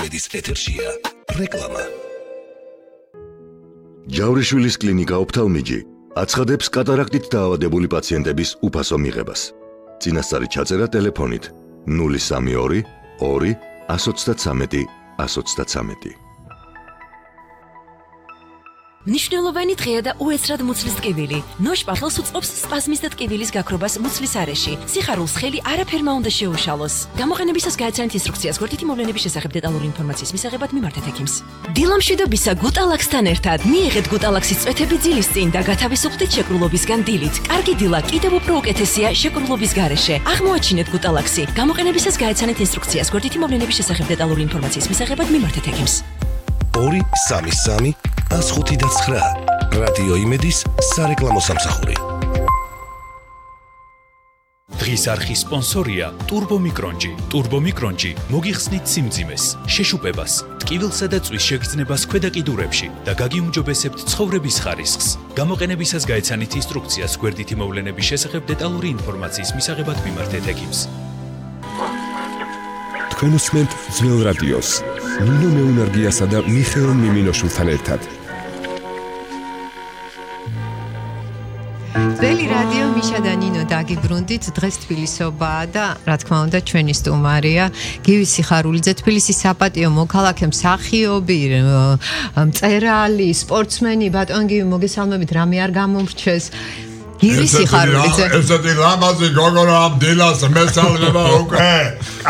კვეთის ეთერშია რეკლამა. ჯავრიშვილის კლინიკა ოფთალმიჯი აცხადებს კატარაქტით დაავადებული პაციენტების უფასო მიღებას. წინასწარი ჩაწერა ტელეფონით 032 2 133 133. მნიშვნელოვანი დღეა და უეცრად მუცლის ტკივილი. ნოშ პარლოს უწყობს სპაზმის და ტკივილის გაქრობას მუცლის არეში. სიხარულს ხელი არაფერმა უნდა შეუშალოს. გამოყენებისას გაეცანით ინსტრუქციას გვერდითი მოვლენების შესახებ დეტალური ინფორმაციის მისაღებად მიმართეთ ექიმს. დილამშვიდობისა გუტალაქსთან ერთად მიიღეთ გუტალაქსის წვეთები ძილის წინ და გათავისუფლდით შეკრულობისგან დილით. კარგი დილა კიდევ უფრო უკეთესია შეკრულობის გარეშე. აღმოაჩინეთ გუტალაქსი. გამოყენებისას გაეცანით ინსტრუქციას გვერდითი მოვლენების შესახებ დეტალური ინფორმაციის მისაღებად მიმართეთ ექიმს. 233 159 რადიო იმედის სარეკლამო სამსახური. დღის არხის სპონსორია ტურბომიკრონჯი. ტურბომიკრონჯი მოგიხსნით სიმძიმეს, შეშუპებას, ტკივილსა და წვის შეგრძნებას ქვედა კიდურებში და გაგიუმჯობესებთ ცხოვრების ხარისხს. გამოყენებისას გაეცანით ინსტრუქციას გვერდითი მოვლენების შესახებ დეტალური ინფორმაციის მისაღებად მიმართეთ ექიმს. თქვენ უსმენთ ძველ რადიოს ნინო მეუნარგიასა და მიხეილ მიმინოშვილთან ერთად. ძველი რადიო მიშა და ნინო დაგიბრუნდით. დღეს თბილისობაა და რა თქმა უნდა ჩვენი სტუმარია გივი სიხარულიძე, თბილისის საპატიო მოქალაქე, მსახიობი, მწერალი, სპორტსმენი. ბატონ გივი, მოგესალმებით, რამე არ გამომრჩეს? გივი სიხარულიძე. ესეთი ლამაზი გოგონა ამ დილას მესალმება უკვე.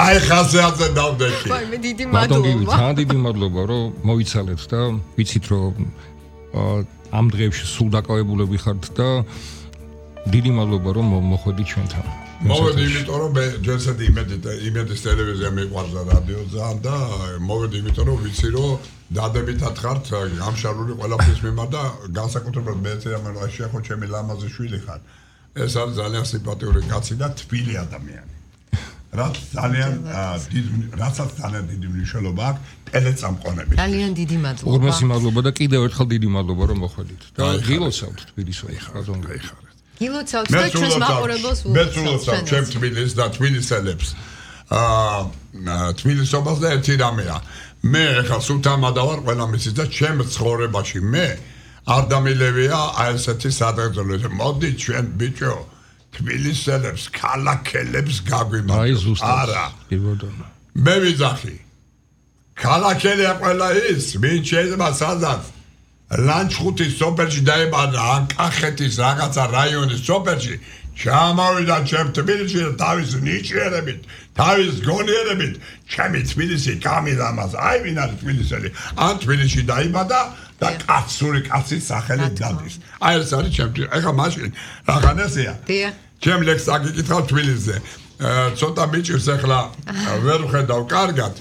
აი ხასიათზე დავდექი. ვაი, მე დიდი ბატონ გივი, მადლობა. ძალიან დიდი მადლობა, რომ მოიცალეთ და ვიცით, რომ ამ დღეებში სულ დაკავებულები ხართ და დიდი მადლობა, რომ მოხვედი ჩვენთან. მოვედი, იმიტომ რომ მე ჯერსედი იმედის ტელევიზია მიყვარს და რადიო ძალიან და მოვედი, იმიტომ რომ ვიცი, რომ დადებითად ხართ გამშარული ყველაფრის მიმართ და განსაკუთრებულად მე შეეხო ჩემი ლამაზი შვილი ხარ. ეს არის ძალიან სიმპათიური კაცი და თბილი ადამიანი. რასაც ძალიან დიდი მნიშვნელობა აქვს ტელეწამყვანების. ძალიან დიდი მადლობა. უღრმესი მადლობა და კიდევ ერთხელ დიდი მადლობა, რომ მოხვედით. და გილოცავთ თბილისში, ბატონ გივი. გილოცავთ და ჩვენს მაყურებელს მე ვულოცავ ჩემ თბილისს და თბილისელებს. თბილისობას და ერთი რამეა. მე ახლა სულთამადავარ ყველა მისის და ჩემ ცხოვრებაში მე არ დამილევია აი ესეთი სადღეგრძელო. მოდი ჩვენ ბიჭო თბილისელებს, ქალაქელებს გაგვიმართოთ. აი ზუსტად. არა. მე ვიძახი. ქალაქელია ყველა ის, ვინ შეიძლება სადაც ლანჩხუთის სოფელში დაიბადა, ან კახეთის რაღაცა რაიონის სოფელში, ჩამოვიდა ჩემ თბილისში და თავის ნიჭიერებით, თავის გონიერებით, ჩემი თბილისი გამილამაზ. აი ვინ არის თბილისელი? ან თბილისში დაიბადა და კაცური კაცის სახელით დადის. აი ეს არის ჩემ. ეხლა მაშინ რაღაცაა. დიახ. ჩემ ლექს აგიკითხავ თბილისზე. ცოტა მიჭირს ახლა ვერ ვხედავ კარგად,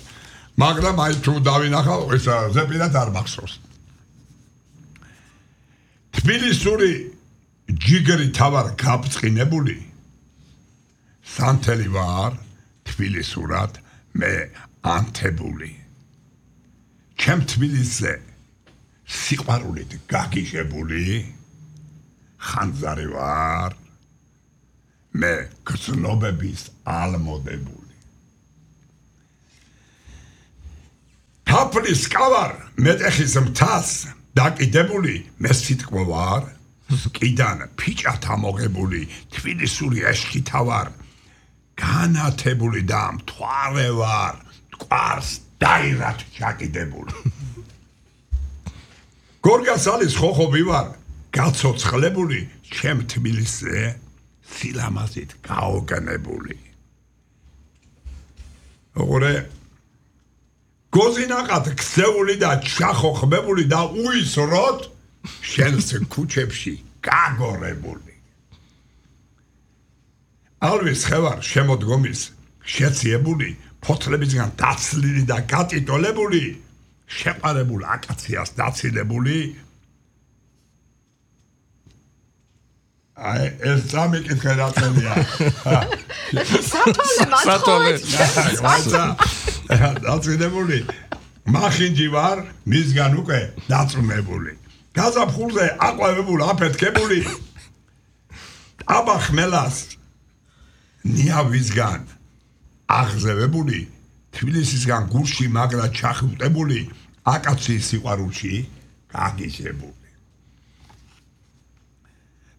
მაგრამ აი თუ დავინახავ, ეს ზეპირად არ მახსოვს. თბილისური ჯიგერი თავარ გაბწყინებული სანთელი ვარ თბილისურად მე ანთებული. ჩემ თბილისზე სიყვარულით გაგიჟებული ხანძარი ვარ მე გრძნობების ალმოდებული. თაფლის კავარ მეტეხის მთას დაკიდებული მე სიტყვა ვარ კიდან ფიჭათ ამოღებული თბილისური ეშქითა ვარ განათებული და მთვარე ვარ მტკვარს დაირად ჩაკიდებული. გორგასალის ხოხობი ვარ გაცოცხლებული ჩემ თბილისზე სილამაზით გაოგნებული. ოღონდ გოზინაყად ქცეული და ჩახოხმებული და უისროდ შენს ქუჩებში გაგორებული. ალვის ხევარ შემოდგომის შეციებული ფოთლებისგან დაცლილი და გატიტოლებული შეყარებულ აკაციას დაცილებული. აი ეს წამიკითხე რა თქმა სათოლე დაწინებული მახინჯი ვარ მისგან უკვე დაწუნებული. გაზაფხულზე აყვავებული აფეთქებული აბახმელას ნიავისგან აღზევებული თბილისისგან გურში მაგრა ჩახუტებული აკაციის სიყვარულში გაგიჟებული.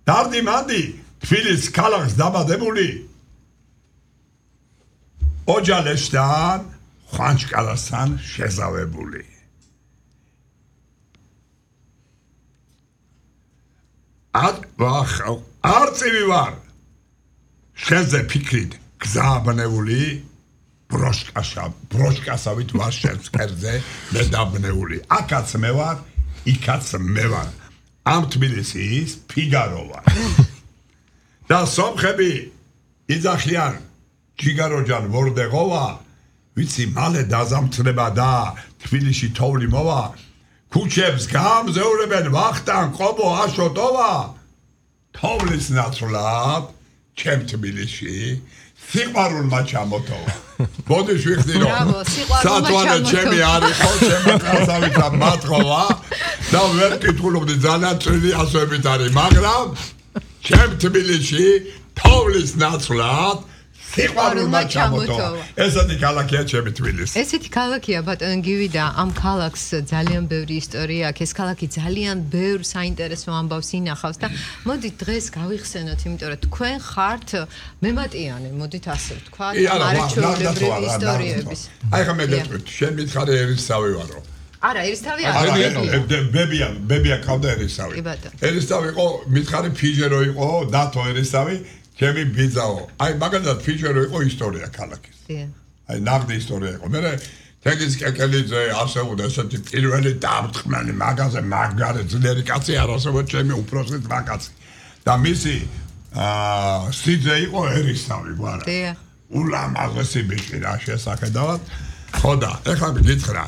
დარდი მანდი თბილისის ქალაქს დაბადებული ოჯალესთან ხვანჩკალასთან შეზავებული. არწივი ვარ შენზე ფიქრით გზაბნეული ბროშკასავით ვარ შენს კერძზე მე დაბნეული. აქაც მე ვარ, იქაც მე ვარ. ამ თბილისის ფიგარო ვარ. და სომხები იძახიან ჯიგაროჯან ვორდეგოვა, ვიცი მალე დაზამთრება და თბილისში თოვლი მოვა. ქუჩებს გამზეურებენ ვახტან ყობო აშოტოვა. თოვლის ნაცვლად ჩემ თბილისში სიყვარულმა ჩამოტოვა. ბოდიში ვიხდი რომ სათვალე ჩემი არის ხო ჩემი ყასავით მათხოვა და ვერ კითხულობდი ძალიან წილი ასოებით არის, მაგრამ ჩემ თბილისში თოვლის ნაცვლად სიყვარულმა ჩამოტოვა. ესეთი ქალაქია ჩემი თბილისი. ესეთი ქალაქია ბატონ გივი და ამ ქალაქს ძალიან ბევრი ისტორია აქვს. ეს ქალაქი ძალიან ბევრ საინტერესო ამბავს ინახავს და მოდით დღეს გავიხსენოთ, იმიტომ რომ თქვენ ხართ მემატიანე, მოდით ასე ვთქვა, არაჩვეულებრივი ისტორიების. აი ხა მე გეტყვით, შენ მითხარი ერისთავი ვარო. არა, ერისთავი არა. ბებია ყავდა ერისთავი. ერისთავი იყო, მითხარი ფიჟერო იყო, დათო ერისთავი. ჩემი ბიძაო. აი მაგალითად ფიჭერო იყო ისტორია ქალაქის. აი ნაღდი ისტორია იყო. მე თეგის კეკელიძე ასეულდა ესეთი პირველი დამწყმელი მაგაზე მაგარი ძლიერი კაცი არასოდეს ჩემი უპროსი ძმაკაცი. და მისი სიძე იყო ერისთავი გვარა. ულამაზესი ბიჭი რა შესახედავად. ხო და ეხლა გითხრა.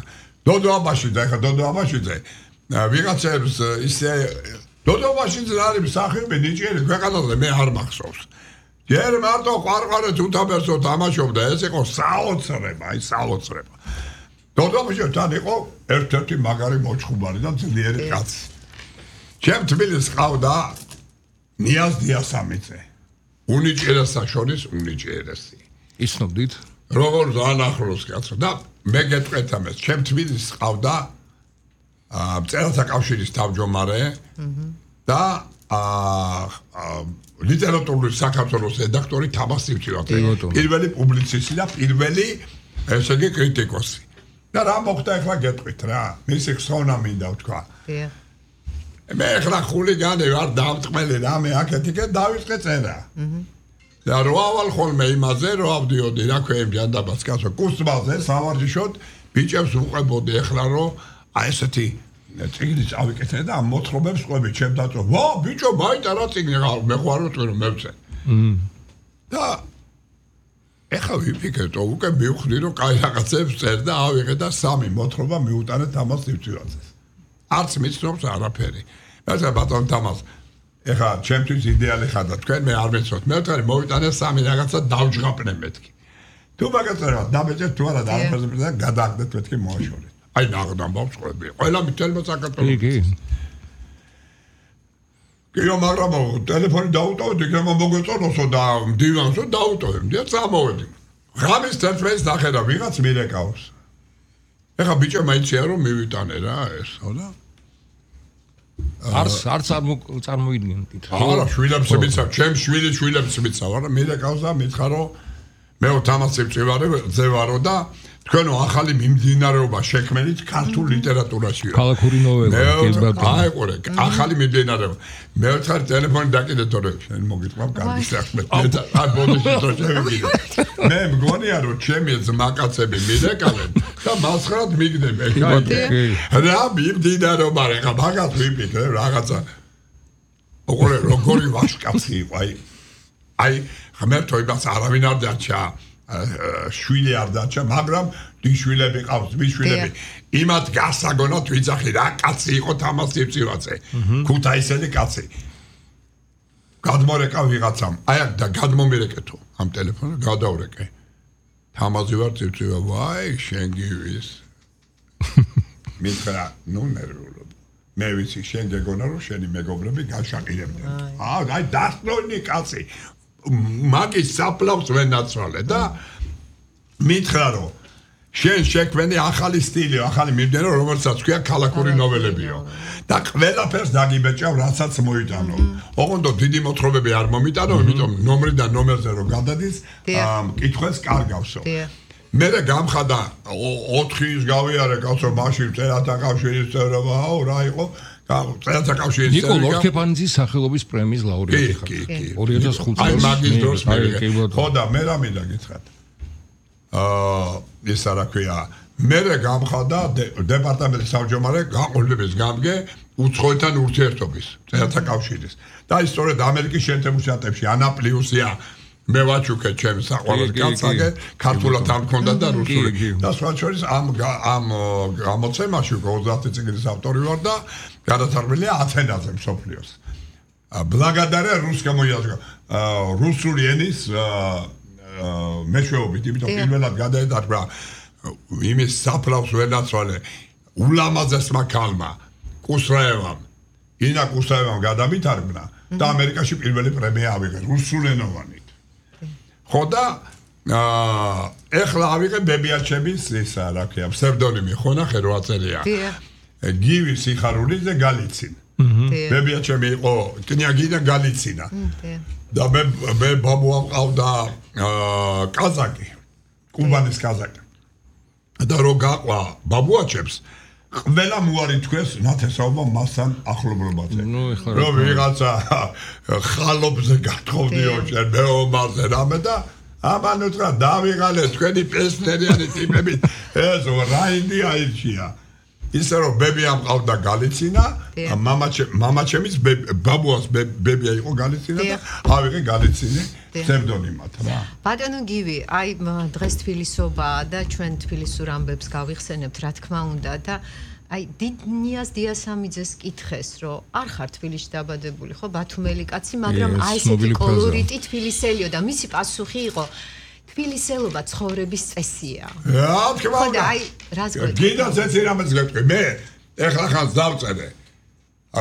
დოდო აბაშიძე, ეხლა დოდო აბაშიძე ვიღაცებს ისე დოდო აბაშიძე არის სახელი ნიჭიერი ქვეყანაზე მე არ მახსოვს. ჯერ მარტო ყვარყვარე თუთაბერსო თამაშობდა, ეს იყო საოცრება, აი საოცრება. დოდომშთან იყო ერთ-ერთი მაგარი მოჩხუბარი და ძლიერი კაცი. ჩემ თბილისს ყავდა ნიაზ დიასამიძე. უნიჭიერესა შორის უნიჭიერესი. იცნობდით? როგორ ზანახლოს კაცო და მე გეტყვით ამას, ჩემ თბილისს ყავდა მწერალთა კავშირის თავმჯდომარე და ლიტერატურული საქართველოს რედაქტორი თამას სივცივაძე. პირველი პუბლიცისტი და პირველი ესე იგი კრიტიკოსი. და რა მოხდა ახლა გეტყვით რა. მისი ხსოვნა მინდა ვთქვა. მე ახლა ხულიგანი ვარ დამწყმელი რამე აქეთიკე დავიწყე წერა. და როავალ ხოლმე იმაზე რო ავდიოდი რა ქვია ჯანდაბას კაცო კუსტბაზე სამარჯიშოდ ბიჭებს უყებოდი ახლა რომ აი ესეთი წიგნი წავიკეთე და ამ მოთხრობებს ყვები ჩემ დაწვა. ვა ბიჭო მაიტარა წიგნი მე ხوارო ტვირო მევცე. და ეხლა ვიფიქრე უკვე მივხვდი რომ კაი რაღაცებს წერ და ავიღე და სამი მოთხრობა მიუტანე თამას სივცივაძეს. არც მიცნობს არაფერი. მე ბატონ თამას ეხლა ჩემთვის იდეალი ხარდა თქვენ მე არ მეცოთ. მე ვთქვი მოვიტანე სამი რაღაცა დავჯღაპნე მეთქი. თუ მაგაწერა დამეჭერთ თუ არა და არაფერზე და გადააგდეთ მეთქი მოაშორეთ. აი ნაღდამ ბავშვები ყველა მითელმა საქართველოს კიო მაგრამ ტელეფონი დაუტოვდი გემ მოგეწონოსო და მდივანსო დაუტოვებდი და წამოვედი ღამის 11-ს დახედა ვიღაც მირეკავს ეხა ბიჭო მაიცია რომ მივიტანე რა ეს ხო და არც წარმოიდგენთ არა შვილებს მიცავ ჩემ შვილებს მიცავ არა მირეკავს და მითხრა რომ მე თამასებს ვარო და თქვენო ახალი მიმდინარეობა შექმნით ქართულ ლიტერატურაშიო. ქალაქური ნოველა. აი ყურე, ახალი მიმდინარეობა. მე ვთქარ ტელეფონი დაკიდეთ თორე შენ მოგიტყვამ კარგი საქმე. აი ბოდიში თო შევიგიდე. მე მგონია რომ ჩემი ძმაკაცები მიდეკავენ და მასხრად მიგდებენ. რა მიმდინარეობა რა მაგას ვიფიქრე რაღაცა. ოღონდ როგორი ვაშკაცი იყო აი ღმერთო იმას არავინ არ დარჩა. შვილი არ დარჩა, მაგრამ დიშვილები ყავს, მიშვილები. იმათ გასაგონოთ ვიძახი რა კაცი იყო თამას სივცივაძე. ქუთაისელი კაცი. გადმორეკა ვიღაცამ. აი და გადმომირეკეთო ამ ტელეფონზე გადავრეკე. თამაზი ვარ სივცივა, ვაი, შენ გივის. მითხრა, ნუ ნერვიულობ. მე ვიცი შენ გეგონა რომ შენი მეგობრები გაშაყირებდნენ. აი დასწრონი კაცი. მაგის საფლავს ვენაცვალე და მითხრა რომ შენ შექმენი ახალი სტილი, ახალი მიმდევრ, რომელსაც ქვია ქალაქური ნოველებიო. და ყველაფერს დაგიბეჭავ, რასაც მოიტანო. ოღონდ დიდი მოთხრობები არ მომიტანო, იმიტომ ნომრიდან ნომერზე რო გადადის, კითხვას კარგავსო. მე გამხადა 4 ის გავიარე კაცო მაშინ წერათა კავშირის წევრობა, რა იყო? წერათა კავშირის წევრობა. ნიკოლ ორქეპანიძის სახელობის პრემიის ლაურეატი ხარ. 2005 წელს. აი მაგის დროს მე. ხო და მე რა მინდა გითხრათ. ეს რა ქვია მე გამხადა დეპარტამენტის თავმჯდომარე გაყოლების გამგე უცხოეთთან ურთიერთობის წერათა კავშირის და ის სწორედ ამერიკის შეერთებულ შტატებში ანა პლიუსია მე ვაჩუქე ჩემს საყვარელ კაცსაგე ქართულად არ მქონდა და რუსული და სხვა შორის ამ გამოცემაში 30 წიგნის ავტორი ვარ და გადათარგმნილია 10 ენაზე მსოფლიოს ბლაგადარია რუსული ენის მეშვეობით, იმიტომ პირველად გადაედარგა იმის საფლავს ვერნაცვალე ულამაზესმა ქალმა კუსრაევამ ინა კუსრაევამ გადამითარგმნა და ამერიკაში პირველი პრემია ავიღე რუსულენოვანით. ხო და ეხლა ავიღე ბებიაჩების ისა რა ქვია ფსევდონიმი ხო ნახე რო აწერია. გივი სიხარულიძე გალიცინ. ბებიაჩემი იყო კნიაგინა გალიცინა. და მე ბაბუა მყავდა კაზაკი კუბანის კაზაკი და რო გაყვა ბაბუაჩებს ყველა მოარი თქვეს ნათესაობა მასთან ახლობლობაზე რომ ვიღაცა ხალობზე გათხოვდიო შენ მეომარზე რამე და ამან უთხრა დავიღალე თქვენი პესნერიანი ტიპებით ეს რაინდი აირჩია ისე რომ ბებია მყავდა გალიცინა მამაჩემის ბაბუას ბებია იყო გალიცინა და ავიღე გალიცინი ფსევდონიმად რა ბატონო გივი აი დღეს თბილისობაა და ჩვენ თბილისურ ამბებს გავიხსენებთ რა თქმა უნდა და აი დიდნიას დიასამიძეს კითხეს რომ არ ხარ თბილისში დაბადებული ხო ბათუმელი კაცი მაგრამ აი ესეთი კოლორიტი თბილისელიო და მისი პასუხი იყო თბილისელობა ცხოვრების წესია. რა თქმა უნდა. აი, რას გვეტყვი? გინდათ ეცი რამეს გვეტყვი. მე ეხლა ხან დავწერე.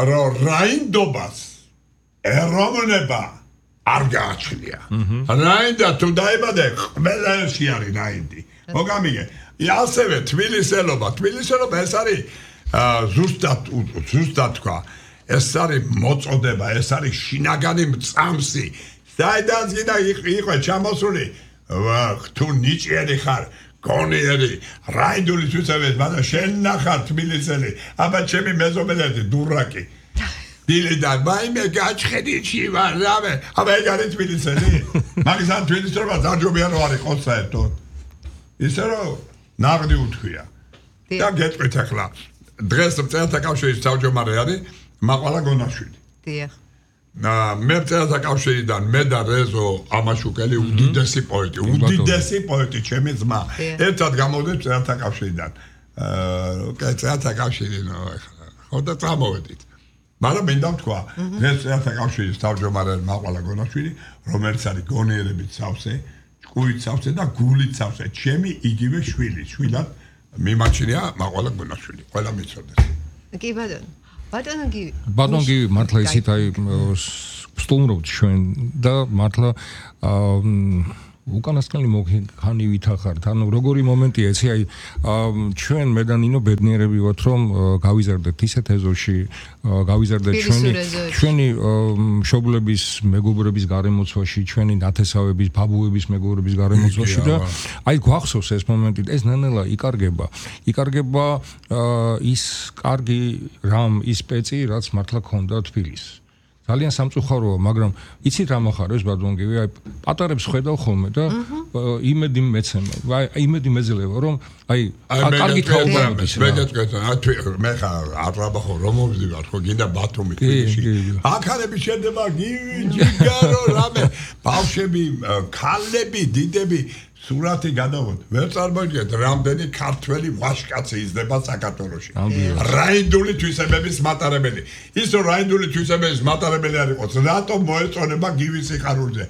რომ რაინდობას ეროვნება არ გააჩნია. რაინდა თუ დაიბადე, ყველაში არის რაინდი. მოგამიგე. ასევე თბილისელობა ეს არის ზუსტად თქვა. ეს არის მოწოდება, ეს არის შინაგანი მწამსი. საიდანაც გინდა იყო ჩამოსული თუ ნიჭიერი ხარ, გონიერი, რაინდული თვისებეთ, მაგრამ შენ ნახარ თბილისელი, აბა ჩემი მეზობელები დურაკი. დილიდან მაიმე გაჩხედიში ვარ, რამე, აბა ეგ არის თბილისელი. მაგის ამ თბილისელობა დაჯობია რომ არ იყოს საერთოდ. ისე რომ ნაღდი უთქვია. და გეტყვით ახლა, დღეს წერათა კავშირის თავმჯდომარე არის მაყვალა გონაშვილი. დიახ. მე წერათა კავშირიდან მე და რეზო ამაშუკელი უდიდესი პოეტი ჩემი ძმა ერთად გამოვდით წერათა კავშირიდან წერათა კავშირი ხო და წამოვედით მაგრამ მინდა ვთქვა დღეს წერათა კავშირის თავმჯდომარე მაყვალა გონაშვილი რომელიც არის გონიერებით სავსე ჭკუით სავსე და გულით სავსე ჩემი იგივე შვილი შვილად მიმაჩნია მაყვალა გონაშვილი ყველა მიცოდეს კი ბატონო ბატონგი მართლა ისეთ აი სტუმრობთ ჩვენ და მართლა უკანასკნელი მოხანი ვითახართ ანუ როგორი მომენტია ეცი აი ჩვენ მე და ნინო ბედნიერები ვართ რომ გავიზარდეთ ისეთ ეზოში გავიზარდეთ ჩვენი მშობლების მეგობრების გარემოცვაში ჩვენი ნათესავების ბაბუების მეგობრების გარემოცვაში და აი გვახსოვს ეს მომენტი ეს ნანელა იკარგება ის კარგი რამ ის პეცი რაც მართლა ქონდა თბილისს ძალიან სამწუხაროა, მაგრამ იცით რა მოხარებს ბატონგივი, აი პატარებს ხედავ ხოლმე და იმედი მეცემა. აი იმედი მეძლევა, რომ აი კარგი თაობაა. მე გეტყვი, მე ხარ ატრაბახო რომ მოვიდივარ, ხო გინდა ბათუმი თბილისში. აქალები შედება გივი, ჯიგარო, რამე, ბავშვები, ქალები, დიდები სურათი გადავოდ. ვერ წარმოგიდგენთ, რამდენი ქართველი ვაშკაცი იზრდება საქართველოში. რაინდული თვისებების მატარებელი. ის რომ რაინდული თვისებების მატარებელი არ იყოს, რატომ მოეწონება გივის სიხარულზე?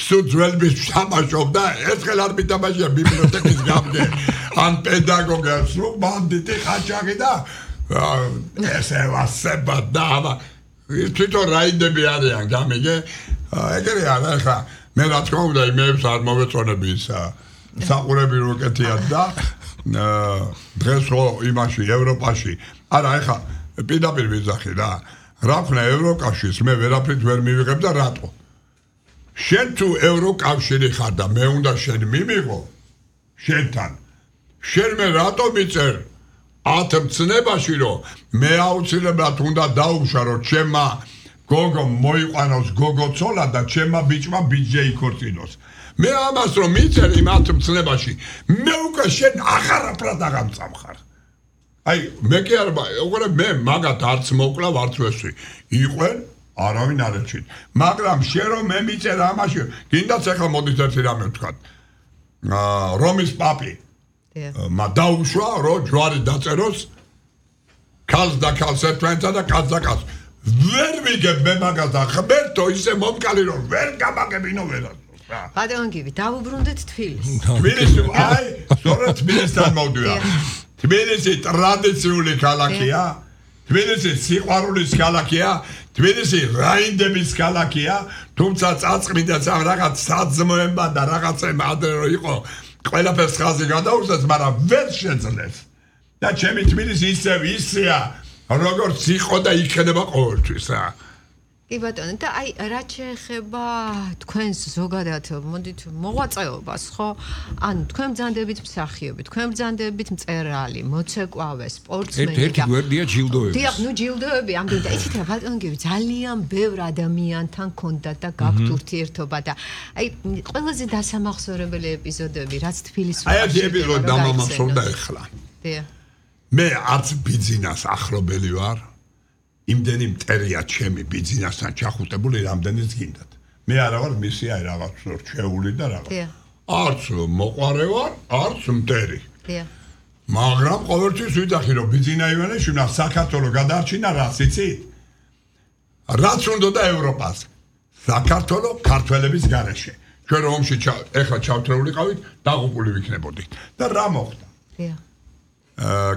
სულ ძველების თამაშობდა, ერთხელ არ მითამაშია ბიბლიოთეკის გამგე, ან პედაგოგია, სულ ბანდიტი ხაჭაღი და ესე ვასება და თვითონ რაინდები არიან, გამიგე? ეგრე არა ხა. მე რა თქმა უნდა იმებს არ მოვეწონები ისა საყურები როკეთია და დღეს ხო იმაში ევროპაში არა ეხა პირდაპირ ვიზახი რა ქნა ევროკავშირს მე ვერაფრით ვერ მივიღებ და რატო შენ თუ ევროკავშირი ხარ და მე უნდა შენ მიმიღო შენთან შენ მე რატო მიწერ 10 მცნებაში რომ მე აუცილებლად უნდა დაუშვარო ჩემმა გოგო მოიყვანოს გოგო ცოლა და ჩემმა ბიჭმა ბიჭი იქორწინოს მე ამას რომ მიწერ იმ 10 მცნებაში მე უკვე შენ აღარაფრად აღამწამხარ აი მე კი არ უყურე მე მაგათ არც მოკლა ვარც ვესვი იყვენ არავინ არ ეჩით მაგრამ შენ რომ მე მიწერ ამაში გინდაც ახლა მოდით ერთი რამე ვთქვათ რომის პაპი მა დაუშვა რომ ჯვარი დაწეროს ქალს და ქალს ერთმანეთსა და კაცს და კაცს ვერ ვიგებ მე მაგას და ხმერთო ისე მომკალი რომ ვერ გამაგებინო ვერას ბატონგივი დავუბრუნდეთ თბილისს თბილისი აი სწორედ თბილისთან მოვდივარ თბილისი ტრადიციული ქალაქია თბილისი სიყვარულის ქალაქია თბილისი რაინდების ქალაქია თუმცა წაწყმიდა რაღაც საძმოება და რაღაცა ადრე რო იყო ყველაფერს ხაზი გადაუშვეს მაგრამ ვერ შეძლეს და ჩემი თბილისი ისევ ისეა როგორც იყო და იქნება ყოველთვის რა კი ბატონო და აი რაც შეეხება თქვენს ზოგადად მოდით მოღვაწეობას ხო ან თქვენ ბრძანდებით მსახიობი თქვენ ბრძანდებით მწერალი მოცეკვავე სპორტსმენი ერთი გვერდია ჯილდოები დიახ ნუ ჯილდოები ამდენ და იცით რა ბატონო ძალიან ბევრ ადამიანთან ქონდათ და გაქვთ ურთიერთობა და აი ყველაზე დასამახსოვრებელი ეპიზოდები რაც თბილისში აი ეს ეპიზოდი დამამახსოვრდა ახლა დიახ მე არც ბიძინას ახლობელი ვარ იმდენი მტერია ჩემი ბიძინასთან ჩახუტებული რამდენიც გინდათ მე არა ვარ მისი აი რაღაც რჩეული და რაღაც არც მოყარე ვარ არც მტერი მაგრამ ყოველთვის ვიძახი რომ ბიძინა ივანიშვილმა საქართველოს გადარჩინა რას იცით რაც უნდა და ევროპას საქართველოს ქართველების გარეშე ჩვენ რომში ეხლა ჩავთრეულიყავით დაღუპული ვიქნებოდით და რა მოხდა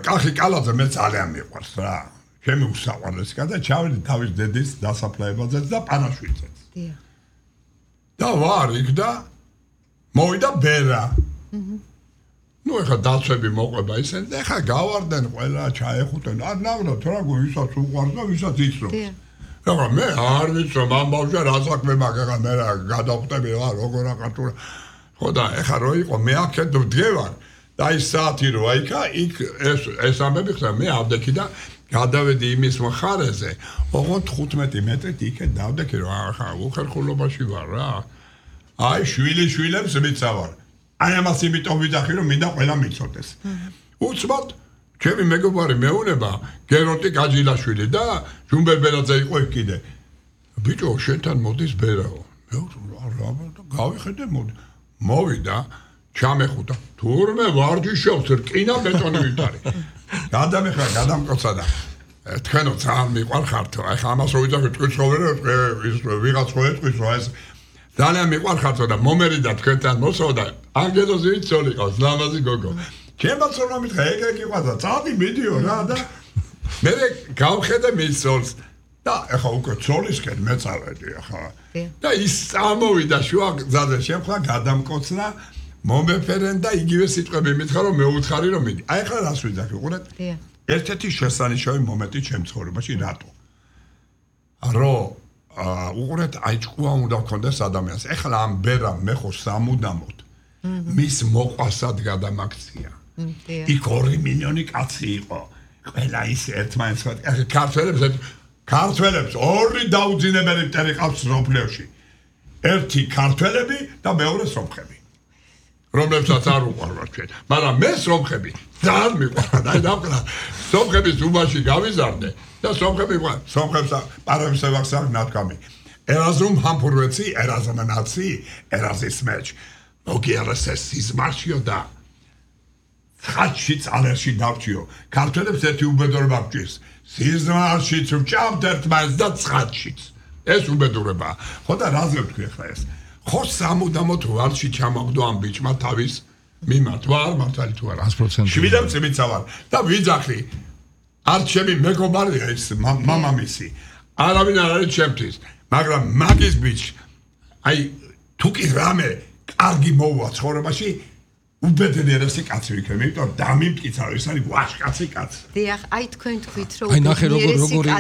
კახი კალაძე მე ძალიან მიყვარს რა ჩემი უსაყვარლესი და ჩავედი თავის დედის დასაფლავებაზეც და პანაშვილზეც. დიახ. და ვარ იქ და მოვიდა ბერა. ნუ ეხა დაცვები მოყვება ისინი და ეხა გავარდნენ ყველა ჩაეხუტენ. არ ნავრად რა ვისაც უყვარს და ვისაც იცნობს. დიახ. ეხა მე არ ვიცნობ ამ ბავშვს რა საქმე მაქვს ეხა მე რა გადავხტები რა როგორ აყართურა. ხო და ეხა რო იყო მე აქეთ ვდგევარ და ის საათი რო აიქა იქ ეს ამბები ხდა მე ავდექი და გადავედი იმის მხარეზე, ოღონდ 15 მეტრით იქეთ დავდექი რომ ახლა უხერხულობაში ვარ რა. აი შვილებს მიცავარ. აი ამას იმიტომ ვიძახი რომ მინდა ყველა მიცოდეს. უცბად ჩემი მეგობარი მეუნება გერონტი გაჯილაშვილი და ჟუმბერ ბერაძე იყო იქ კიდე. ბიჭო შენთან მოდის ბერაო. მე რა გავიხედე მოდი. მოვიდა ჩამეხუტა. თურმე ვარჯიშობს რკინა ბეტონი ვიტარი. გადამეხა გადამკოცა და თქვენო ძალიან მიყვარხართ აი ამას რო ვიძახი თქვენ ცხოვრე ის ვიღაც ხო ეთქვის რა ეს ძალიან მიყვარხართ და მომერიდა თქვენთან მოსავდა ანგელოზი ვიცოლი ყავს ლამაზი გოგო ჩემაც რომ მითხრა ეგ იყვადა წადი მიდიო რა და მე გავხედე მისოლს და ახლა უკვე ცოლისკენ მეწავედი ახლა და ის წამოვიდა შუა გზაზე შემხლა გადამკოცნა მომეფერენ და იგივე სიტყვები მითხრა რომ მეუთხარი რომ მიდი. აი ახლა რას ვიძახი უყურეთ? ერთ-ერთი შესანიშნავი მომენტი ჩემ ცხოვრებაში რატო? რომ უყურეთ აი ჭკუა უნდა გქონდეს ადამიანს. ახლა ამ ბერამ მე ხო სამუდამოდ მის მოყვასად გადამაქცია. იქ 2 მილიონი კაცი იყო. ყველა ის ერთმანეთს ქართველებს ორი დაუძინებელი მტერი ყავს სოფლიოში. ერთი ქართველები და მეორე სომხები. რომლებსაც არ უყვარვარ ჩვენ. მაგრამ მე სომხები ძალიან მიყვარდა. აი დავკრა სომხების უბაში გავიზარდე და სომხები სომხებს პარამის ვახსარ ნათქვამი. ერაზუმ ჰამფურვეცი, ერაზუმ ნაცი, ერაზის მეჩ. მოგიარესეს სიზმარშიო და ხაჩიც ალერში დავჭიო. ქართველებს ერთი უბედურება გჭირს. სიზმარშიც ვჭამთ ერთმანეთს და ცხაჩიც. ეს უბედურებაა. ხო და რაზე ვთქვი ახლა ეს? ხო სამუდამოდ ვარში ჩამაგდო ამ ბიჭმა თავის მიმართ ვარ მართალი თუ არა 100% შვილებს მიცავარ და ვიძახი არ ჩემი მეგობარია ეს მამამისი არავინ არ არის ჩემთვის მაგრამ მაგის ბიჭ აი თუ კი რამე კარგი მოუვა ცხოვრებაში უბედნიერესი კაცი ვიქნები, იმიტომ რომ დამიმტკიცა რომ ეს არის ვაჟკაცი კაცი. დიახ, აი თქვენ თქვით რომ აი ნახე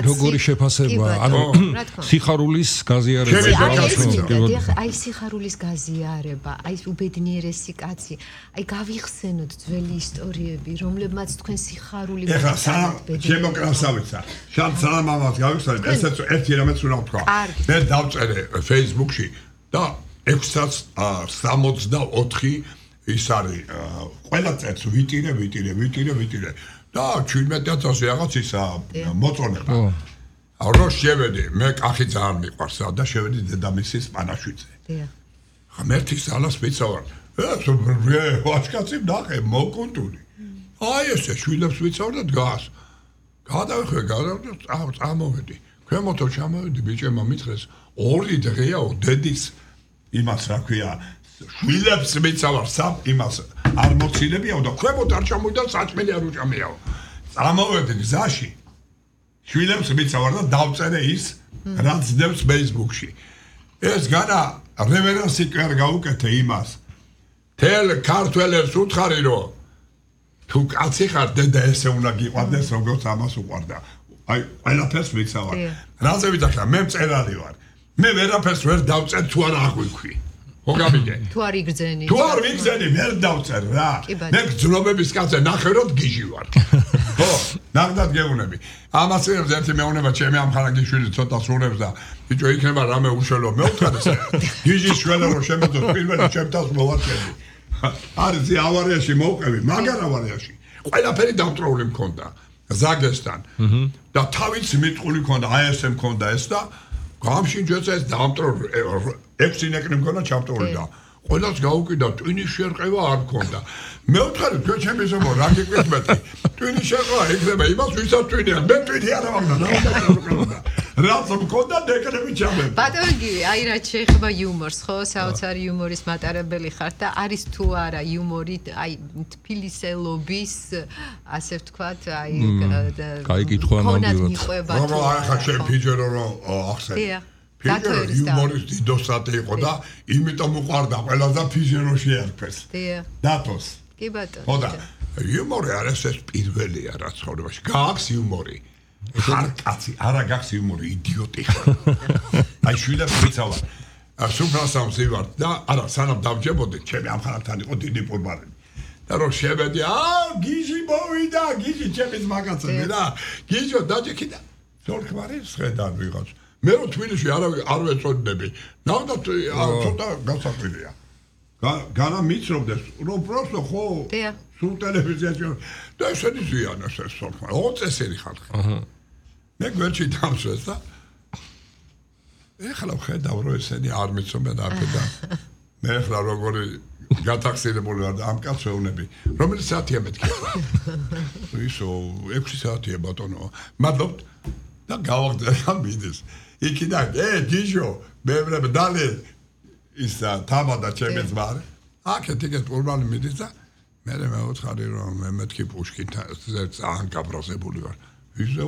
როგორი შეფასება, ანუ სიხარულის გაზიარება. დიახ, აი სიხარულის გაზიარება, აი უბედნიერესი კაცი, აი გავიხსენოთ ძველი ისტორიები, რომლებმაც თქვენ სიხარული ეხლა შემოკრავსავიცა. სალამ მამას გავიხსენეთ, ესეც ერთი რამეც უნდა ვთქვა. მე დავწერე Facebook-ში და 664 ის არის ყველა წელს ვიტირე და 17000 რაღაც ისა მოწონება. რო შევედი, მე კახი ძალიან მიყვარს და შევედი დედამისის პანაშვიდზე. დიახ. ღმერთის ძალას ვიცავარ. ვაჟკაცი ნახე მოკუნტული. აი ესე შვილებს ვიცავარ და დგას. გადავეხვე, წამოვედი. ქვემოთო ჩამოვედი, ბიჭებმა მითხრეს 2 დღეაო დედის იმას რა ქვია შვილებს მიცავარ სამ იმას არ მოცინებიაო და ქვემოთ არ ჩამოვიდა საჭმელი არ უჭამიაო. წამოვედი გზაში. შვილებს მიცავარ და დავწერე ის რაც დევს Facebook-ში. ეს განა რევერენსი კარ გაუკეთე იმას. თელ ქართველებს უთხარი რომ თუ კაცი ხარ დედა ესე უნდა გიყვარდეს როგორც ამას უყვარდა. აი ყველაფერს მიცავარ. რაზე ვიტახა მე მწერალი ვარ. მე ვერაფერს ვერ დავწერ თუ არ აღვიქვი. ხო გამიგე? თუ არ იგრძენი. თუ არ ვიგრძენი ვერ დავწერ რა. მე გძნობების კაცზე ნახე რომ გიჟი ვარ. ხო, ნახდათ გეუბნები. ამას ერთი მეუნება ჩემი ამხანაგიშვილი ცოტა სურებს და ბიჭო იქნება რამე უშველო მე ვთქვათ ესე. გიჟის შველა რომ შემეძოს პირველი ჩემთავს მოვარჩენდი. არის ავარიაში მოვყევი, მაგარ ავარიაში. ყველაფერი დამტროული მქონდა ზაგესთან. და თავიც მიტყული მქონდა, აი ესე მქონდა ეს და გამშინჯეცა ეს დამტროული 6 ნეკნი მქონდა ჩამტროული და ყველას გაუკიდა ტვინის შერყევა არ მქონდა. მე ვთქვი თქვენ ჩემი ზომო რა გიკვეთმეთი ტვინის შერყევა იქნება იმას ვისაც ტვინია მე ტვინი არ ამგდა რაც მქონდა ნეკნები ჩამები. ბატონო გივი, აი რა შეეხება იუმორს, ხო? საოცარი იუმორის მატარებელი ხართ და არის თუ არა იუმორი, აი თბილისელობის ასე ვთქვათ, აი კაი კითხვა ნამდვილად. რომ ახლა შენ ფიჯერო რომ ახსენე. ფიჯერო იუმორის დიდოსატი იყო და იმიტომ უყვარდა ყველაზე ფიჯეროში ერქეს. დათოს. კი ბატონო. ხო და იუმორი არის ეს პირველია რა ცხოვრებაში. გააქვს იუმორი. ხარ კაცი, არა გაქვს იუმორი, იდიოტი ხარ. აი შვილებს ვიცავარ. სუფრასამს ივარ და არა სანამ დავჯებოდი, ჩემი ამხანაგთან იყო დიდი პურბარები. და რომ შევედი, გიჟი მოვიდა, გიჟი ჩემის მაგაცები რა. გიჟო დაჭიქი და ზოლქმარი შედან ვიღაც. მე რო თბილისში არ ვეწოდნები. ნახდა ცოტა გასაკვირია. განა მიცნობდეს, რომ პროსტო ხო სულ ტელევიზიაში და ესენი ზიანას ეს ზოლქმარი. 20 წესერი ხალხი. მე გვერდში დამსვეს და ეხლა ვხედავ რომ ესენი არ მიცნობენ არაფერდა. მე ეხლა როგორი გათახსენებული ვარ და ამ კაცს ვეუბნები. რომელი საათია მეთქი? ისო 6 საათია ბატონო. მადლობთ და გავაგზავნე ამ ვიდეოს. იქიდან გიჟო მე ვრებ დალე ის თამადა ჩემი ძმა. აქეთ იქეთ პურბანი მიდის და მე მეუთხარი რომ მე მეთქი პუშკინთან ძალიან გაბრაზებული ვარ. ისო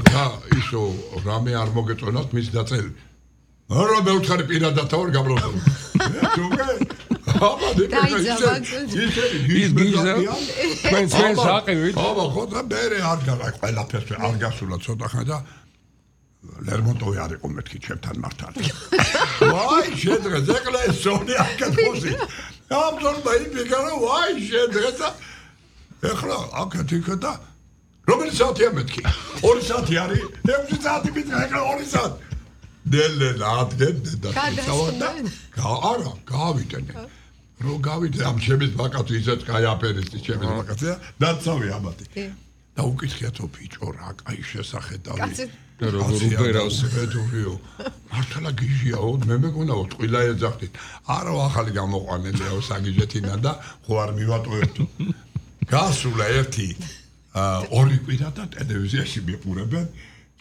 და ისო რამე არ მოგეწონათ მის დაწერილი. არა მე ვთხარი პირადად თავარ გაბრაზებული. თუმე აბა თქვენ საყივით აბა ხო და მე არ გაყ ყველაფერს არ გასულა ცოტა ხანი და ლერმონტოვი არ იყო მეთქი ჩემთან მართალი. ვაი შედღეს ეკლა ეს სონი აკეთოსი. აბსოლუტა იფიქარა ვაი შედღეს ეხლა აკეთიკა და რომელი საათია მეთქი? 2 საათი არის? 6 საათი მითხრა ეხლა 2 საათი. დელე ადგენ და არა გავიტენე. რო გავიტე ამ ჩემის ბაკაცი ისეთ კაი აფერისტი ჩემის ბაკაცია დაცავი ამათი. და უკითხიათო ბიჭო რა კაი შესახედავი. როგორ უბრალოდ ბედურიო. მართლა გიჟიაო მე მეგონაო ტყილა ეძახდით. არა ახალი გამოყვანელიაო საგიჟეთინა და ხო არ მივატოვებთ. გასულა ერთი 2 კვირა და ტელევიზიაში მიყურებენ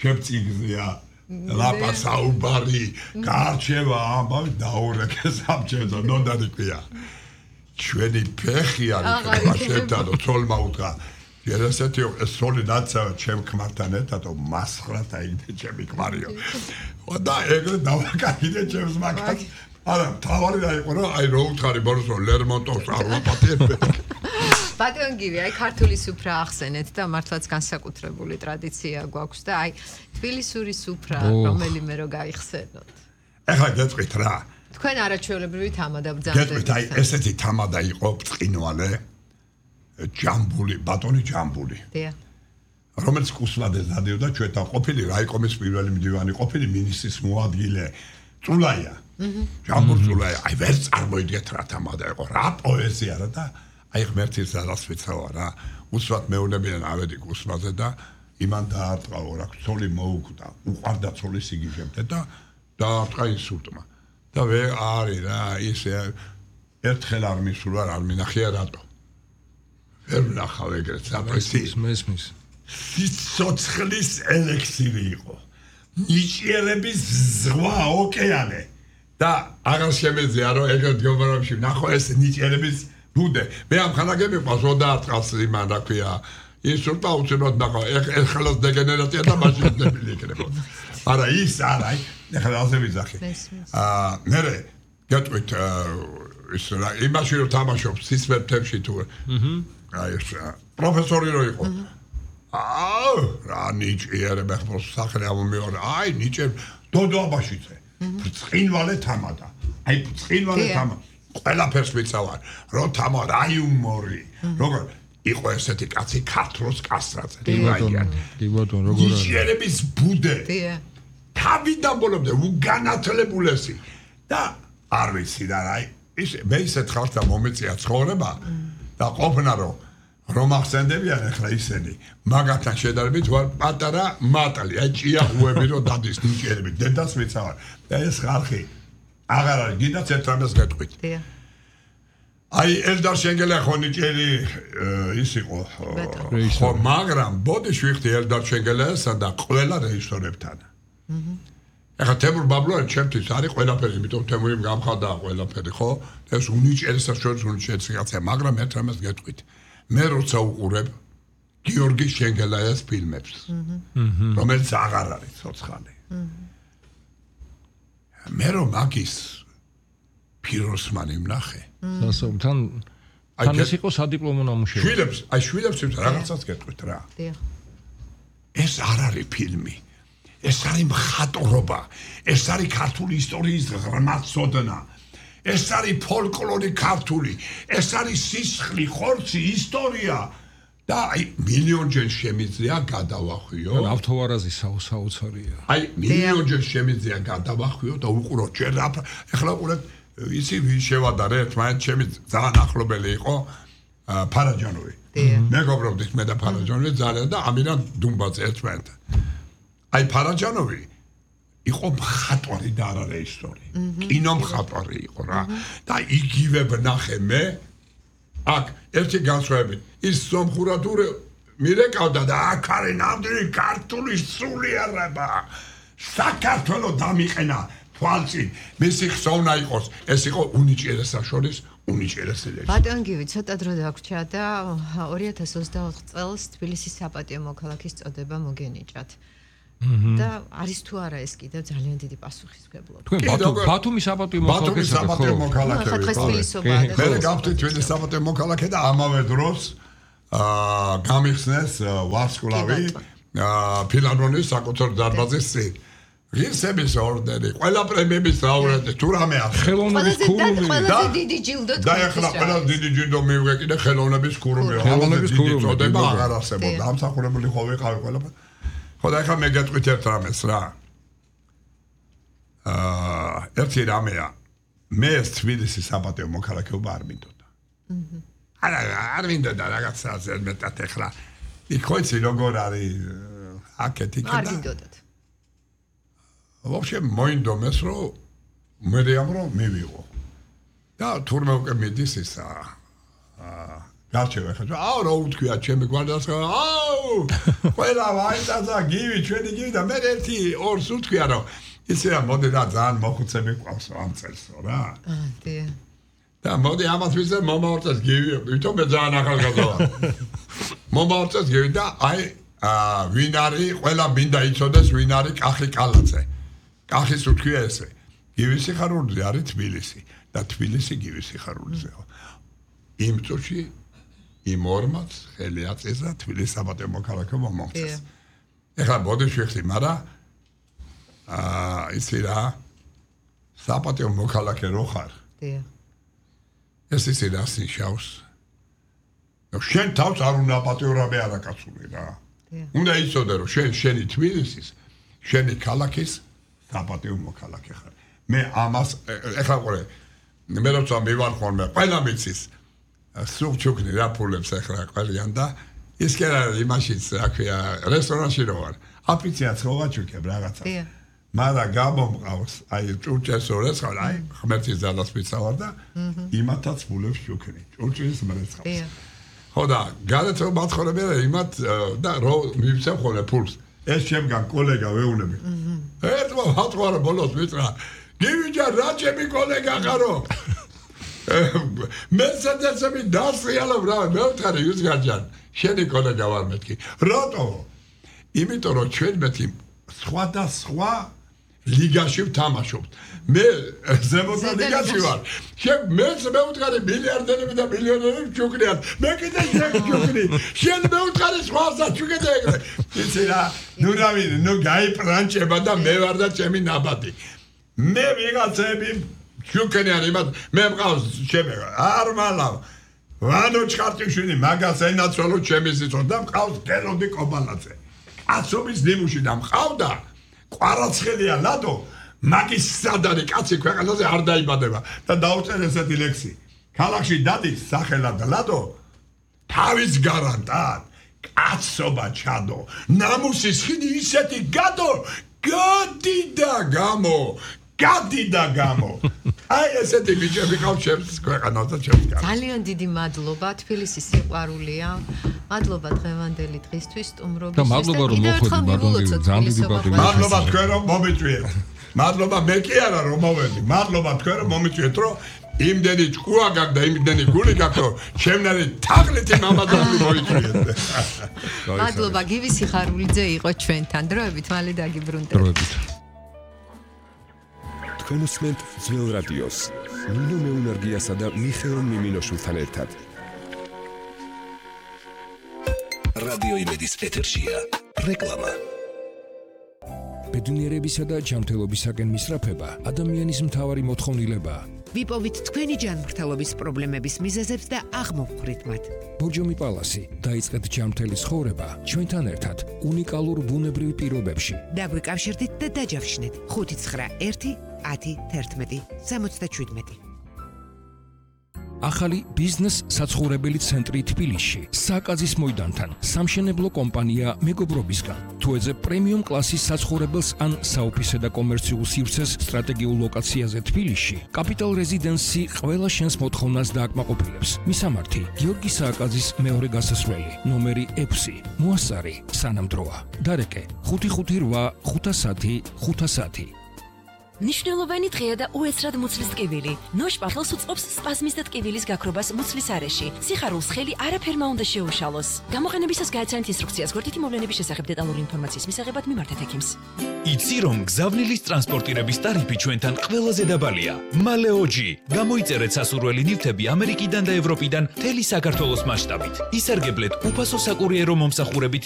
ჩემ წიგნზეა ლაპა საუბარი გარჩევა ამბავი დაურეკეს ამ ჩემს ნოდარი ქვია ჩვენი ფეხი არის შეერთად ცოლმა უთხრა երեսეთი სოლი დაცავა ჩემ ქმართან ერთად მასხრა დაიდე ჩემი ქმარიო და ეგრე დავაკარგე ჩემს მაგას არა, თავარი რა იყო რა, აი რო უთხარი ბოროს რომ ლერმონტოვს არ ვაპატიებდე. ბატონ გივი, აი ქართული სუფრა ახსენეთ და მართლაც განსაკუთრებული ტრადიცია გვაქვს და აი თბილისური სუფრა რომელიმე რო გაიხსენოთ. ეხლა გეტყვით რა. თქვენ არაჩვეულებრივი თამადა ბრძანდებით. გეტყვით აი ესეთი თამადა იყო ბრწყინვალე ჯამბული, ბატონი ჯამბული. დიახ. რომელიც კუსლადეს დადიოდა ჩვენთან ყოფილი რაიკომის პირველი მდივანი ყოფილი მინისტრის მოადგილე წულაია. ჯამბურ წულაია. აი ვერ წარმოიდგეთ რა თამადა იყო, რა პოეზია რა და აი ღმერთის ძალას ვიცავა რა. უსვათ მეუნებიან ავედი კუსლაზე და იმან დაარტყაო რა, ცოლი მოუკვდა, უყარდა ცოლის იგიჟებდა და დაარტყა ინსულტმა. და ვერ არის რა, ისე ერთხელ არ მისულა, არ მინახია რატო. ვერ ვნახავ ეგრეთ საპრესის მესმის. სიცოცხლის ელექსირი იყო. ნიჭიერების ზღვა ოკეანე. და აღარ შემეძია რომ ეგრეთ გეოგრაფიაში ნახო ეს ნიჭიერების ბუდე. მე ამ ხანაგები ყავს დაარტყავს იმან რა ქვია. ინსულტა უცებად ნახო. ეხლა დეგენერაცია და მაშინ დებილი იქნებოდა. არა ის არა, ეხლა ასე ვიზახი. მერე გეტყვით ის რა იმაში რომ თამაშობს სისვერტებში თუ აი ეს პროფესორი რო იყო. რა ნიჭიერება ხო სახელი ამომეორა. აი ნიჭიერ დოდოაბაშიძე. ბრწყინვალე თამადა. აი ბრწყინვალე თამადა. ყველაფერს ვიცავარ. რო თამა რა იუმორი. როგორ იყო ესეთი კაცი ქართლოს კასტრაძე. კი ბატონო, როგორ არის? ნიჭიერების ბუდე. თავიდან ბოლომდე უგანათლებულესი და არ ვიცი და აი ის მე ისეთ ხალხს მომეწია ცხოვრება და ყოფნა რომ ახსენდებიან ახლა ისინი მაგათთან შედარებით ვარ პატარა მატალი აი ჭიაღვები რომ დადის ნიჭიერებით დედას ვიცავარ და ეს ხალხი აღარ არის გინდათ ერთ რამეს გეტყვით აი ელდარ შენგელე ხო ნიჭიერი ის იყო ხო მაგრამ ბოდიში ვიხდი ელდარ შენგელესა და ყველა რეჟისორებთან ეხლა თემურ ბაბლოა ჩემთვის არის ყველაფერი, იმიტომ თემური გამხდა ყველაფერი, ხო? ეს უნიჭიერესა შორის უნიჭიერესა, მაგრამ ერთ რამეს გეტყვით. მე როცა უყურებ გიორგი შენგელაიას ფილმებს, რომელიც აღარ არის ცოცხალი. მე რომ მაგის ფიროსმანი ვნახე. სასწაულთან თან ეს იყო სადიპლომო ნამუშევარი. შვილებს რაღაცას გეტყვით რა. ეს არ არის ფილმი. ეს არის მხატვრობა, ეს არის ქართული ისტორიის ღრმაცოდნა, ეს არის ფოლკლორი ქართული, ეს არის სისხლი, ხორცი, ისტორია და აი მილიონჯერ შემიძლია გადავახვიო. ავთოვარაზი საოცარია. აი მილიონჯერ შემიძლია გადავახვიო და უყურო ჯერ ახლა უყურეთ ისი ვინ შევადარე ერთმანეთს ჩემი ძალიან ახლობელი იყო ფარაჯანოვი. მეგობრობდით მე და ფარაჯანოვი ძალიან და ამირან დუმბაძე ერთმანეთთან. აი ფარაჯანოვი იყო მხატვარი და არა რეჟისორი. კინო მხატვარი იყო რა. და იგივე ვნახე მე აქ ერთი განსხვავებით ის სომხურადური მირეკავდა და აქ არის ნამდვილი ქართული სულიერება. საქართველოს დამიყენა თვალწინ. მისი ხსოვნა იყოს ეს იყო უნიჭიერესა შორის უნიჭიერესი რეჟისორი. ბატონ გივი ცოტა დრო დაგვრჩა და 2024 წელს თბილისის საპატიო მოქალაქის წოდება მოგენიჭათ. და არის თუ არა ეს კიდევ ძალიან დიდი პასუხისმგებლობა. თქვენ ბათუმის საპატიო მოქალაქე. მე გავხდით თბილისის საპატიო მოქალაქე და ამავე დროს გამიხსნეს ვარსკვლავი ფილარმონიის საკუთარ დარბაზის წინ. ღირსების ორდენი, ყველა პრემიების ლაურეატი, თუ რამე არის. ხელოვნების ქურუმი და დიდი ჯილდო და ეხლა ყველა დიდი ჯილდო მივიღე კიდე ხელოვნების ქურუმი. ხელოვნების ქურუმი წოდება აღარ არსებობდა. ამსახურებული ხო ვიყავი ყველაფერი. ხო და ეხლა მე გეტყვით ერთ რამეს რა. ერთი რამეა. მე თბილისის საპატიო მოქალაქეობა არ მინდოდა. არ მინდოდა რაღაცა ზედმეტად ეხლა. იქოიცი როგორ არის აქეთ იქ და არ მინდოდათ. вообще მოინდომეს რომ მე რომ მივიღო. და თურმე უკვე მიდის ისა გარჩევა ხა რა უთქვია ჩემი გვარდას ყველა ვაიტაცა გივი ჩვენი გივი და მე ერთი ორს უთქვია რომ ისე რა მოდი რა ძალიან მოხუცები ყავს ამ წელსო რა დიახ და მოდი ამას ვიზე მომავალწელს გივი თვითონ მე ძალიან ახალგაზრდა მომავალწელს გივი და აი ვინ არის ყველა მინდა იცოდეს ვინ არის კახი კალაძე კახის უთქვია ესე გივის სიხარულიზე არის თბილისი და თბილისი გივის სიხარულიზეა. იმ წუთში იმ ორმაც ხელი აწესა თბილისის საპატიო მოქალაქეობა მომწეს. ეხლა ბოდიშვიხი, მაგრამ ისი რა საპატიო მოქალაქე რო ხარ. ეს ისი რას ნიშნავს? შენ თავს არ უნდა პატიორაბე არაკაცული რა. უნდა იცოდე რომ შენი თბილისის, შენი ქალაქის საპატიო მოქალაქე ხარ. მე ამას ეხლა ყურე მე როცა მივარ ხოლმე ყველა მიცის სუქჩუკნი რა ფულებს ეხლა ყველიან და ის კი არა იმაშიც რა ქვია რესტორანში რო ვარ აფიცია ცხოვაჩუკებ რაღაცა მაგრამ გამომყავს აი ჭურჭელს ორეს ხარ აი ღმერთის ძალას ვიცავარ და იმათაც ფულებს შუქნი ჭურჭელის მრეცხავს ხო და გადაცო მათხოვრები იმათ და რო მივცემ ხოლმე ფულს ეს შემგან კოლეგა ვეუნები ერთმა მათხოვარ ბოლოს ვიტრა გივიჯა რა ჩემი კოლეგა ხარო მესადაცები დასრიალობ რა მე ვთქარი იუსგარჯან შენი კოლეგა ვარ მეთქი რატო იმიტომ რომ ჩვენ მეთი სხვადასხვა ლიგაში ვთამაშობთ მე ზემოთა ლიგაში ვარ მე ვთქარი მილიარდერები და მილიონერები ჩუქნიან მე კიდე შევჩუქნი შენ მე ვთქარი სხვასაც ჩუქეთ ეგრე იცი რა ნუ რავი ნუ გაიპრანჭება და მე ვარ და ჩემი ნაბადი მე ვიღაცები ჩუქნიან იმათ მე მყავს ჩემი არ მალავ ვანო ჩხარტიშვილი მაგას ენაცვალო ჩემი სიცოცხლე და მყავს გელოდი კობალაძე კაცობის ნიმუში და მყავდა ყვარაცხელია ლადო მაგის სადარი კაცი ქვეყანაზე არ დაიბადება და დაუწერ ესეთი ლექსი ქალაქში დადის სახელად ლადო თავის გარანტად კაცობა ჩადო ნამუსის ხიდი ისეთი გადო გადი და გამო აი ესეთი ბიჭები ყავს ჩემს ქვეყანაზე ჩემს გარანტად ძალიან დიდი მადლობა თბილისის სიყვარულია მადლობა დღევანდელი დღისთვის სტუმრობისთვის და მადლობა რომ მოხვედით ბატონო ძალიან დიდი პატივი მადლობა თქვენ რომ მომიწვიეთ მადლობა მე კი არა რომ მოვედი მადლობა თქვენ რომ მომიწვიეთ რომ იმდენი ჭკუა გაქვს და იმდენი გული გაქვს რომ ჩემნარი თაღლითი მამადალი მოიწვიეთ მადლობა გივი სიხარულიძე იყო ჩვენთან დროებით მალე დაგიბრუნდებით თქვენ უსმენთ ძველ რადიოს ნინო მეუნარგიასა და მიხეილ მიმინოშვილთან ერთად რადიო იმედის ეთერშია რეკლამა ბედნიერებისა და ჯანმრთელობისაკენ მისწრაფება ადამიანის მთავარი მოთხოვნილებაა. ვიპოვით თქვენი ჯანმრთელობის პრობლემების მიზეზებს და აღმოვხვრით მათ. ბორჯომი პალასი დაიწყეთ ჯანმრთელი ცხოვრება ჩვენთან ერთად უნიკალურ ბუნებრივ პირობებში. დაგვიკავშირდით და დაჯავშნეთ 591 10 11 77. ახალი ბიზნეს საცხოვრებელი ცენტრი თბილისში, საკაზის მოედანთან, სამშენებლო კომპანია მეგობრობისგან. თუ ეძებ პრემიუმ კლასის საცხოვრებელს ან საოფისე და კომერციულ სივრცეს სტრატეგიულ ლოკაციაზე თბილისში, კაპიტალ რეზიდენსი ყველა შენს მოთხოვნას დააკმაყოფილებს. მისამართი: გიორგი სააკაძის მეორე გასასვლელი, ნომერი 6, მოასწარი, სანამდროა. დარეკე: 558 510 510. ნიშნულოვანი დღეა და უეცრად მუცლის ტკივილი. ნოშ პარლოს უწყობს სპაზმის და ტკივილის გაქრობას მუცლის არეში. სიხარულს ხელი არაფერმა უნდა შეუშალოს. გამოყენებისას გააცანით ინსტრუქციას გვერდითი მოვლენების შესახებ დეტალური ინფორმაციის მისაღებად მიმართეთ ექიმს. იცი რომ გზავნილის ტრანსპორტირების ტარიფი ჩვენთან ყველაზე დაბალია. მალეოჯი. გამოიწერეთ სასურველი ნივთები ამერიკიდან და ევროპიდან მთელი საქართველოს მასშტაბით. ისარგებლეთ უფასო საკურიერო მომსახურებით